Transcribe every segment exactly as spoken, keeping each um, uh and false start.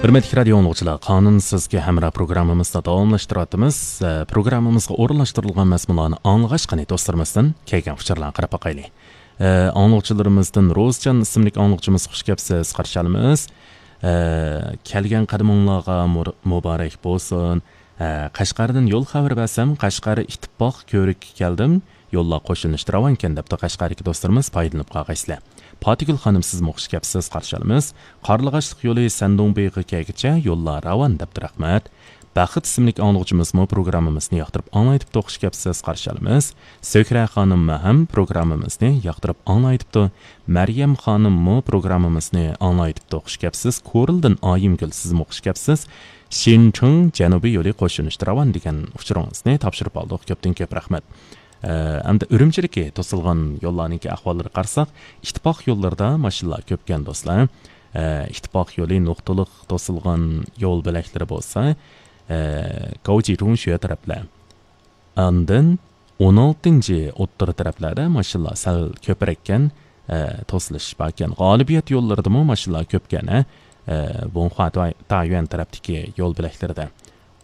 ھۆرمەتلىك رادىيو ئاڭلىغۇچىلار، قانۇن سىزگە ھەمراھ پروگراممىمىزنى داۋاملاشتۇرۇۋاتىمىز. ئە، پروگراممىمىزغا ئورۇنلاشتۇرۇلغان مەزمۇنلارنى ئاڭلىغاچ، قېنى دوستلىرىمىزدىن كەلگەن ئۇچۇرلارنى قاراپ باقايلى. ئە، ئاڭلىغۇچىلىرىمىزدىن روزجان ئىسىملىك ئاڭلىغۇچىمىز، خۇش كەپسىز، قارشى ئالىمىز. ئە، كەلگەن قەدىمىڭلارغا مۇر-، مۇبارەك بولسۇن. ئە، قەشقەردىن يول خەۋىرى بەرسەم، قەشقەر ئىتتىپاق كۆۋرۈككە كەلدىم. يوللار قوشۇلۇشتا راۋانكەن، دەپتۇ قەشقەردىكى دوستلىرىمىز، پايدىلىنىپ قالغايسىلەر. پاتىگۈل خانىم، سىزمۇ خۇش كەپسىز، قارشى ئالىمىز. قارلىغاچلىق يولى سەندۇڭ بېغى كەيگىچە يوللار راۋان، دەپتۇ، رەھمەت. بەخت ئىسىملىك ئاڭلىغۇچىمىزمۇ پروگراممىمىزنى ياقتۇرۇپ ئاڭلايتىپتۇ، خۇش كەپسىز، قارشى ئالىمىز. سۆھرە خانىم ھەم پروگراممىمىزنى ياقتۇرۇپ ئاڭلايتىپتۇ. مەريەم خانىممۇ پروگراممىمىزنى ئاڭلايتىپتۇ، خۇش كەپسىز. كورلىدىن ئايىمگۈل، سىزمۇ خۇش كەپسىز. شىنچىڭ جەنۇبىي يولى قوشۇلۇشتا راۋان دېگەن ئۇچۇرىڭىزنى تاپشۇرۇپ ئالدۇق. كۆپتىن كۆپ رەھمەت. ئە، ئەمدى ئۈرۈمچىدىكى توسۇلغان يوللارنىڭكى ئەھۋاللىرىغا قارىساق، ئىتتىپاق يوللىرىدا ماشىنىلار كۆپكەن، دوستلار. ئە، ئىتتىپاق يولى نۇقتىلىق توسۇلغان يول بۆلەكلىرى بولسا، ئە، گاۋجى رۇڭشۈە تەرەپلەر. ئاندىن ئون ئالتىنچى ئوتتۇرا تەرەپلەردە ماشىنىلار سەل كۆپرەككەن، ئە، توسۇلۇش باركەن. غالىبىيەت يوللىرىدىمۇ ماشىنىلار كۆپكەن، ئە، ئە، بونخۇا تاي-، تايۈەن تەرەپتىكى يول بۆلەكلىرىدە.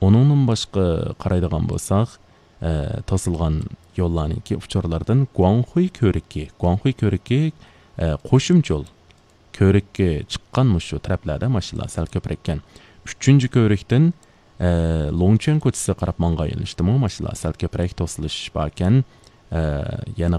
ئۇنىڭدىن باشقا قارايدىغان بولساق، ئە، توسۇلغان يوللارنىڭكى ئۇچۇرلىرىدىن گۇاڭخۇي كۆۋرۈكى، گۇاڭخۇي كۆۋرۈكى، ئە، قوشۇمچە يول كۆۋرۈككە چىققان مۇشۇ تەرەپلەردە ماشىنىلار سەل كۆپرەككەن. ئۈچىنچى كۆۋرۈكتىن، ئە، لوڭچۈەن كوچىسىغا قاراپ ماڭغان يۆنىلىشتىمۇ ماشىنىلار سەل كۆپرەك توسۇلۇش باركەن. ئە، يەنە